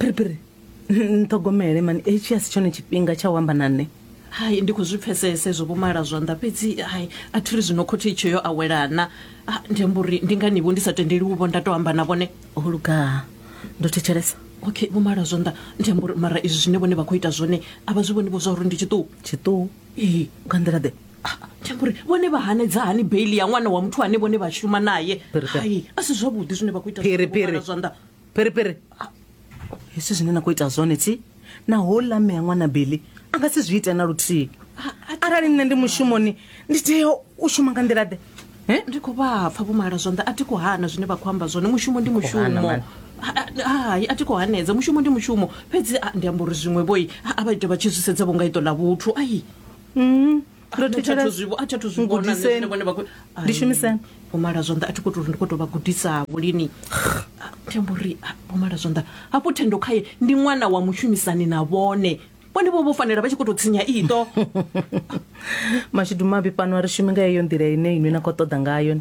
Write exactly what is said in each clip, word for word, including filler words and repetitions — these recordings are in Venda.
Phiriphiri, nṱhogomele mani, hetshi a si tshone tshifhinga tsha u amba na nṋe. Hai, ndi khou zwi pfesesa ezwo vhomala zwanḓa, fhedzi hai, a thi ri zwino khothe itsho yo awelana. Ah, ndi amba uri ndi nganivho ndi sa tendeli u vho nda to amba na vhone. O luga, ndo thetshelesa. Okay, vhomala zwanḓa, ndi amba uri mara izwi zwine vhone vha khou ita zwone a vha zwi vhoni vho zwa uri ndi tshiṱuku? Tshiṱuhu? Ee. Nga nḓila ḓe? Ah, ndi amba uri vhone vha hanedza hani beili ya ṅwana wa muthu ane vhone vha shuma naye? Phiri, phiri. Hai, a si zwavhuḓi zwine vha khou ita Phiri, zwone, vho mala phiri. zwanḓa. Phiriphiri, hezwi zwine na khou ita zwone tsi na houḽa mme a ṅwana beli a nga si zwi ite na luthihi. Arali nṋe ndi mushumoni, ndi tea u shuma nga nḓila ḓe? Eh? Ndi khou vha pfa vhomala zwanḓa, a thi khou hana zwine vha khou amba zwone, mushumo ndi Khou hana, mushumo. mani. Hai, a thi khou hanedza, mushumo ndi mushumo, fhedzi ah, ndi amba uri zwiṅwe vhoi a vha ite vha tshi zwi sedza vho nga iṱo ḽa vhuthu, ai. Mm, ndo A thi athu thetshelesa. zwi vho- a thi athu zwi vhona nṋe Ngudiseni. zwine vhone vha khou- Ai, Ndi shumiseni. vhomala zwanḓa, a thi khou tou uri ndi khou tou vha gudisavho lini. Ah, ndi amba uri ah, vhomala zwanḓa, hafhu Thendo khaye ndi ṅwana wa mushumisani na vhone, vhone vho vho fanela vha tshi khou tou tsinya iṱo. Mashudu mavhi, fhano a ri shumi nga heyo nḓila ine inwi na khou ṱoḓa ngayo.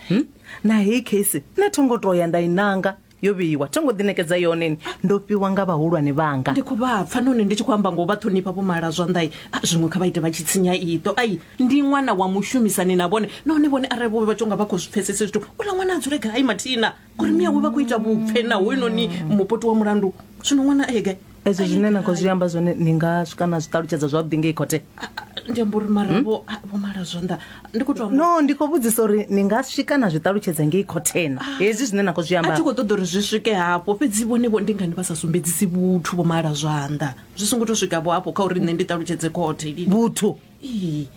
Hmm? Na heyi case nṋe tho ngo to ya nda i nanga, yo vheiwa, tho ngo ḓinekedza yone ni, ndo fhiwa nga vhahulwane vhanga. Ndi khou vha pfa nahone ndi tshi khou amba ngo vha ṱhonifha vhomala zwanḓa, ah, zwiṅwe kha vha ite vha tshi tsinya iṱo, ai, ndi ṅwana wa mushumisani na vhone, nahone vhone arali vho vha tonga vha khou zwi pfesese zwithu, uḽa ṅwana a dzule gai mathina ngori miyawe vha khou ita vhupfe na hoyunoni mupoti wa mulandu, zwino ṅwana a ye gai? Ezwo zwine na khou zwi amba zwone, ni nga swika na zwi ṱalutshedza zwavhuḓi ngei khothe? Ah, ah, ndi amba uri mara vho ah, vho mala zwanḓa, ndi khou tou amba. No, ndi khou vhudzisa uri ni nga swika na zwi ṱalutshedza ngei khothena hezwi zwine na khou zwi A amba? thi khou ṱoḓa uri zwi swike hafho, fhedzi vhone vho ndi ngani vha sa sumbedzisi vhuthu vho mala zwanḓa? Zwi songo to swika vho hafho kha uri nṋe ndi ṱalutshedze khothe lini. Vhuthu? Ee.